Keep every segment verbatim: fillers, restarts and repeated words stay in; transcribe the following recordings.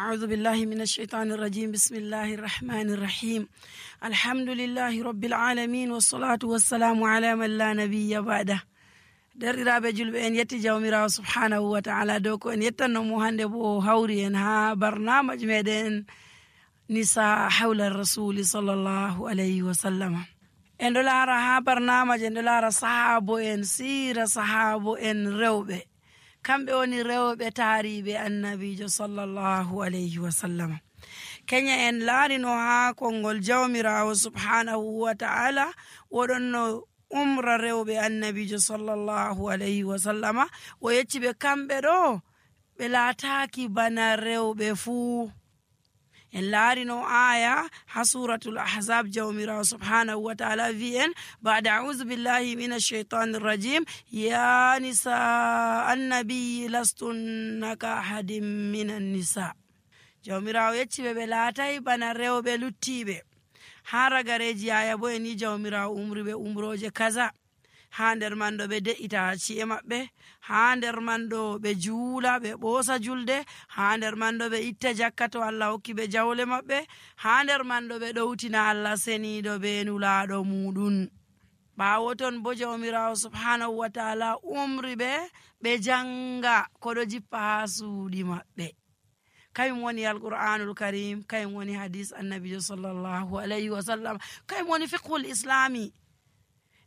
أعوذ بالله من الشيطان الرجيم. بسم الله الرحمن الرحيم. الحمد لله رب العالمين، والصلاة والسلام على من لا نبي بعده. Derɗiraaɓe julɓe, en yetti Jawmiraawo subhaanahu wa ta'ala dow ko en yettanno mo hannde, bo o hawri en haa barnaamaj meɗen Nisa hawla Rasuli sallallahu alayhi wa sallama. En ɗo laara haa barnaamaj, en ɗo laara sahaabo en, siira sahaabo en rewɓe. Kamɓe woni rewɓe taariiɓe Annabiijo sallallahu alayhi wa sallama. Kenya en laarino haa konngol Jawmiraawo subhaanahu wa ta'ala, o ɗonno umra rewɓe Annabiijo sallallahu alayhi wa sallama. O yecci ɓe kamɓe ɗo, ɓe laataaki bana rewɓe fuu. En laarino aaya haa Suuratul Ahzab, Jawmiraawo subhaanahu wa ta'ala vi'i en, ba'da a'uuzu billahi mina shaytaani rajim, "Ya nisa annabi, lastunna ka ahadin minan nisa." Jawmiraawo yecci ɓe, ɓe laatay bana rewɓe luttiiɓe. Haa ragareeji aaya bo en yi Jawmiraawo umri ɓe umrooje kaza. Haa nder man ɗo ɓe de'ita ci'e maɓɓe, haa nder man ɗo ɓe juula, ɓe ɓoosa julde, haa nder man ɗo ɓe itta jakka to Allah hokki ɓe jawle maɓɓe, haa nder man ɗo ɓe ɗowtina Allah seniiɗo be nulaaɗo muuɗum. Ɓaawo ton bo Jawmiraawo subhaanahu wa ta'ala umri ɓe, ɓe jannga ko ɗo jippa haa suuɗi maɓɓe. Kayum woni Alqur'aanul Karim, kayum woni hadiis Annabiijo sallallahu alayhi wa sallam, kayum woni fiqhul Islaami.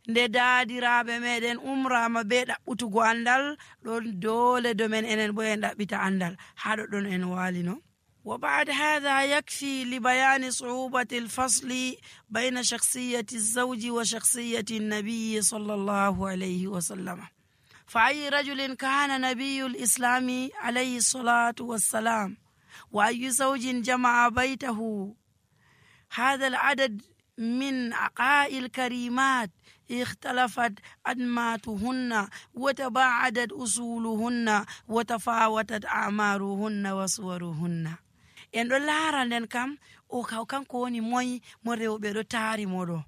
Nde daadiraaɓe meɗen umraama be ɗaɓɓutugo anndal, ɗon doole dow men enen bo en ɗaɓɓita anndal. Haa ɗoɗɗon en waalino. وبعد هذا يكفي لبيان صعوبة الفصل بين شخصية الزوج وشخصية النبي صلى الله عليه وسلم. فأي رجل كان نبي الإسلام عليه الصلاة والسلام، وأي زوج جمع بيته هذا العدد من عقائل كريمات اختلفت أنماطهن وتباعدت أصولهن وتفاوتت أعمارهن وصورهن. En ɗo laara nden kam, o kaw kanko woni moy mo rewɓe ɗo taari mo ɗo.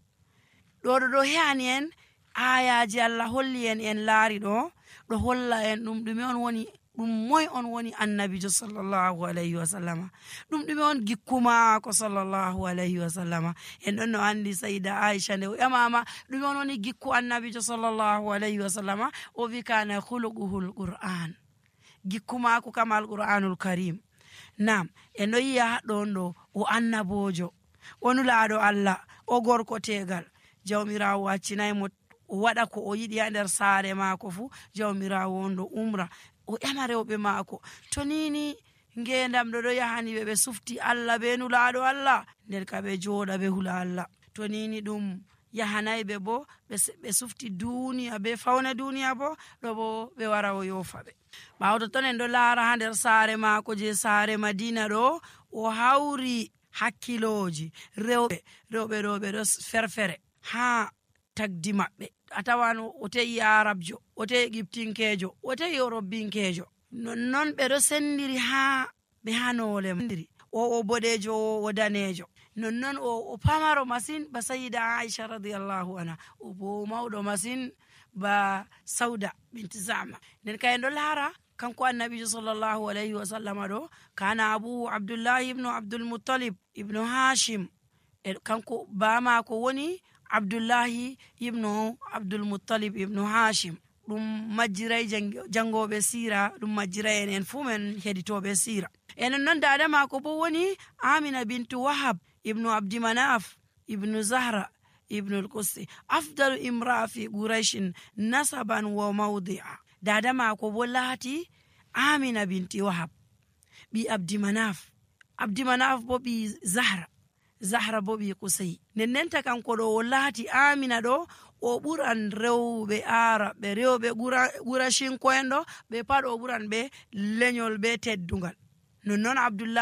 Ɗo, ɗo, ɗo he'ani en aayaaji Allah holli en, en laari ɗo, ɗo holla en ɗum ɗume on woni, ɗum moy on woni Annabiijo sallallahu alayhi wa sallama. Ɗum ɗume on gikku maako sallallahu alayhi wa sallama. En ɗon no anndi Sayyida Aisha nde o ƴamaama ɗume on woni gikku Annabiijo sallallahu alayhi wa sallama, o vi kana khuluquhul Qur'an. Gikku maako kam Alqur'anul Karim. Naam, en ɗo yi'a ɗon ɗo o annaboojo, o nulaaɗo Allah, o gorko teegal. Jawmiraawo accinay mo o waɗa ko o yiɗi haa nder saare maako fuu. Jawmiraawo on ɗo umra, o ƴama rewɓe maako. To ni ni ngeendam ɗo ɗo yahani ɓe, ɓe sufti Allah be nulaaɗo Allah, nden ka ɓe jooɗa ɓe hula Allah. To ni ni ɗum yahanay ɓe bo, ɓe se-, ɓe sufti duuniya be fawne duuniya bo, ɗo bo ɓe wara o yoofa ɓe. Ɓaawo totton en ɗo laara haa nder saare maako je saare Madiina ɗo, o hawri hakkilooji rewɓe, rewɓe ɗo ɓe ɗo s-, ferfere haa tagdi maɓɓe. A tawan o te'i Arabjo, o te'i Egiptinkeejo, o te'i Orobinkeejo. Nonnon ɓe ɗo sendiri haa ɓe haa noole sendiri. O, o boɗeejo, o, o daneejo. Nonnon o, o pamaro masin ba Sayyida Aisha radiyallahu anha. O bo o mawɗo masin ba Sauda bint Zama. Nden kay en ɗo laara kanko Annabiijo sallallahu alayhi wa sallama ɗo, kana Abu Abdullahi ibnu Abdul Muttalib ibnu Hashim. E kanko baa maako woni Abdullahi ibnu Abdul Muttalib ibnu Hashim. Ɗum majjiray jang-, janngooɓe siira, ɗum majjiray en, en fuu men heɗitooɓe siira. E non non daada maako bo woni Amina bintu Wahab ibnu Abdi Manaf ibnu Zahra ibnu al-Qussi. Afdalu imra'a fi Qurayshin nasaban wa mawdi'a. Daada maako bo laati Amina binti Wahab, ɓii Abdi Manaf. Abdi Manaf bo ɓii Zahra. Zahra bo ɓii Qusay. Nden ndenta kanko ɗo o laati Amina ɗo, o ɓuran rewɓe Arabɓe, rewɓe Qura-, Qurashinko'en ɗo, ɓe pat o ɓuran ɓe lenyol be teddungal. Nonnon Abdullahi